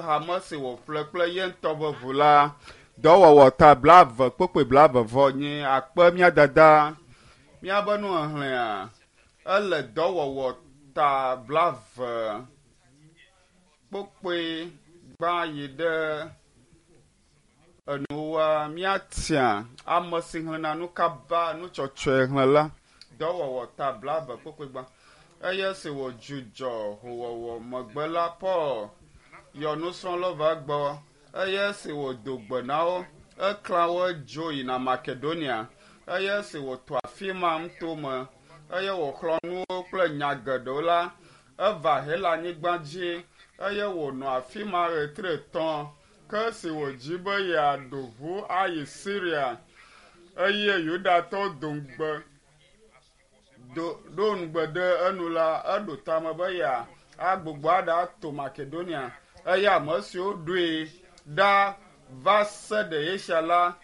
Hame si wòƒle kple ye ŋutɔ ƒe ʋu la, dɔwɔwɔ ta blaeve kpokpoe blaeve vɔ nyi akpe mía dada. Míabe nuxexlẽa ele dɔwɔwɔ ta blaeve kpokpoe gbã yi ɖe enuwoa míatia ame si xlẽna nu kaba nutsɔtsɔe xlẽla dɔwɔwɔ ta blaeve kpokpoe gbã eye si wòdzudzɔ howɔwɔ megbe la Paul yɔ nusrɔ̃lawo va egbɔ eye si wòdo gbe na wo eklã wo dzo yina Makedonia eye si wòto afi ma ŋutome eye wòxlɔ̃ nu wo kple nya geɖewo la eva Helanyigba dzi eye wònɔ afi ma ɣetri etɔ̃ ke esi wòdzi be yeaɖo ʋu ayi Siria eye Yudatɔwo do ŋugbe do ɖo ŋugbe ɖe enu la eɖo tame be yeagbugbɔ aɖato Makedonia eye ame siwo ɖoe ɖa va se ɖe Asia la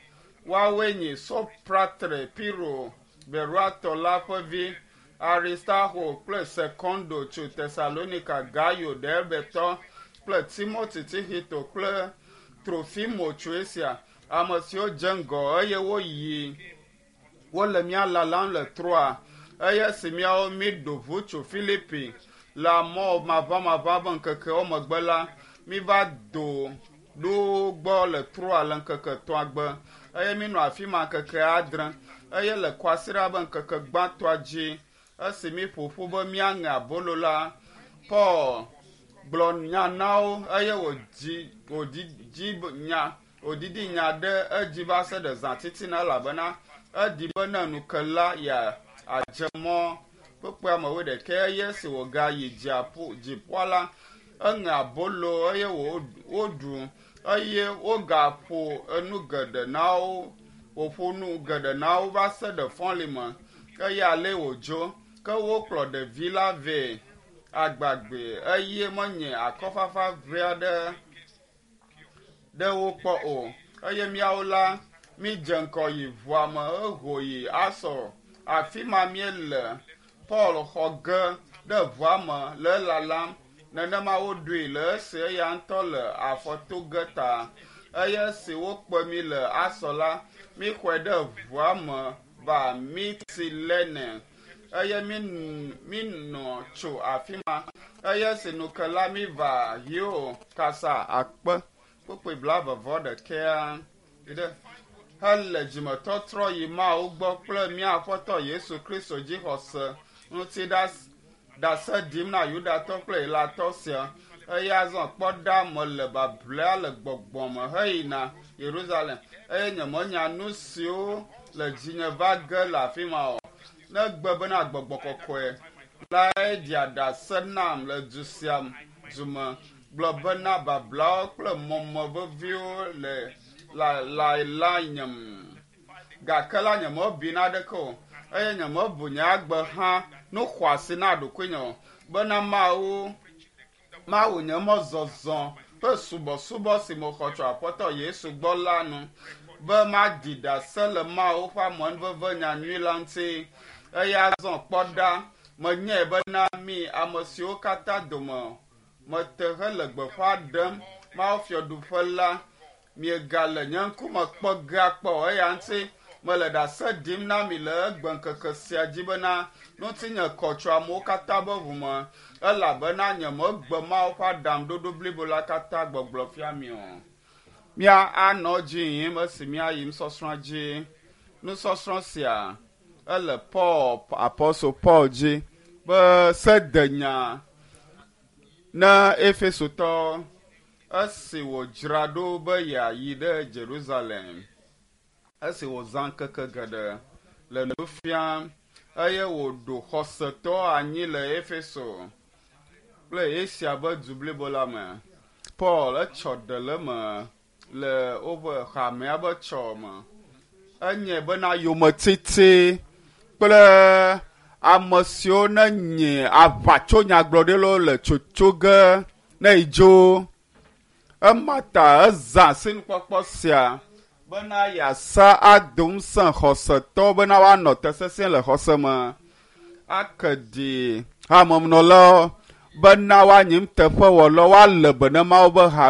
woawoe nye Sopratre Piro Beroiatɔ la ƒe vi Aristarko kple Sekondo tso Tesalonika Gayo Derbetɔ kple Timoti Tixito kple Trofimo tso Asia ame siwo dze ŋgɔ eye woyi wole mía lalam le Troa eye esi míawo míɖo ʋu tso Filipi le mɔ maʋamaʋã ƒe ŋkekewo megbe la míva do ɖo wo gbɔ le Troa le ŋkeke etɔ̃a gbe eye mínɔ afi ma ŋkeke adre eye le kwasiɖa ƒe ŋkeke gbãtɔa dzi esi míƒo ƒu be míaŋe abolo la Paul gblɔ nya na wo eye wòdzi wòdidi nya wòdidi nya ɖe edzi va se ɖe zã titina elabena edi be ne ŋu ke la yeadze mɔ kpekpea me wuiɖekɛ eye esi wògayi dziaƒo dziƒoa la eŋe abolo eye woɖu eye wogaƒo enu geɖe na wo wòƒo nu geɖe na wo va se ɖe fɔli me eye ale wòdzo ke wokplɔ ɖevi la vɛ agbagbe eye menye akɔfafa ʋɛ aɖe ɖe wo kpɔ o eye míawo la mídze ŋgɔ yi ʋua me eho yi Asɔ afi ma míele Paul xɔ ge ɖe ʋua me le elalam nenema woɖoe le esi eya ŋutɔ le afɔ to ge ta eye esi wokpe mí le Asɔ la míxɔe ɖe ʋua me va Mitilene eye mínɔ tso afi ma eye esi ŋu ke la míva Xio kasa akpe kpokpoe blaeve vɔ ɖekɛa ɖe hele dzimetɔtrɔ yi Mawu gbɔ kple mía Aƒetɔ Yesu Kristo dzixɔse ŋuti ɖase ɖim na Yudatɔ kple Helatɔ sia eye azɔ kpɔ ɖa mele bablea le gbɔgbɔ me heyina Yerusalem eye nyemenya nu siwo le dzinye va ge le afi ma o negbe bena gbɔgbɔ kɔkɔe lae ɖia ɖase nam le du sia du me gblɔ bena bablawo kple mɔmɔ veviwo le la nyem gake la nyemebi naɖeke o eye nyemebu nye agbe hã nu xɔasi na ɖokuinye o bena Mawu Mawu nye mɔzɔzɔ ƒe subɔsubɔ si mexɔ tso Aƒetɔ Yesu gbɔ la nu be maɖi ɖase le Mawu ƒe amenuveve nyanyui la ŋuti eye azɔ kpɔ ɖa menyae bena mi ame siwo katã dome mete hele gbeƒã ɖem Mawu fiaɖuƒe la miegale nye ŋkume kpɔ ge akpɔ o eya ŋuti mele ɖase ɖim na mi le egbe ŋkeke sia dzi bena ŋutinye kɔ tso amewo katã be ʋu me elabena nyemegbe Mawu ƒe aɖaŋuɖoɖo blibo la katã gbɔgblɔ fia mi o. Mía anɔ dzi yim esi míayi nusɔsrɔ̃a dzi. Nusɔsrɔ̃ sia ele Paul Apostle Paul dzi be sedenya na Efesotɔ esi wòdzra ɖo be yeayi ɖe Jerusalem esi wòzã ŋkeke geɖe le nu fiam eye wòɖo xɔsetɔ anyi le Efeso kple Asia ƒe du blibo la me. Paul etsɔ ɖe le eme le woƒe hamea ƒe tsɔ me. Enye bena yometiti kple ame siwo ne nye aʋatsonyagblɔɖilawo le tsotso ge ne yidzo. Ema ta ezã asinukpɔkpɔ sia bena yeasa ado ŋusẽ xɔsetɔ bena woanɔ te sesĩe le xɔse me. Ake ɖi hamenɔlawo bena woanyi nuteƒewɔlawo woalé be ne Mawu ƒe hame.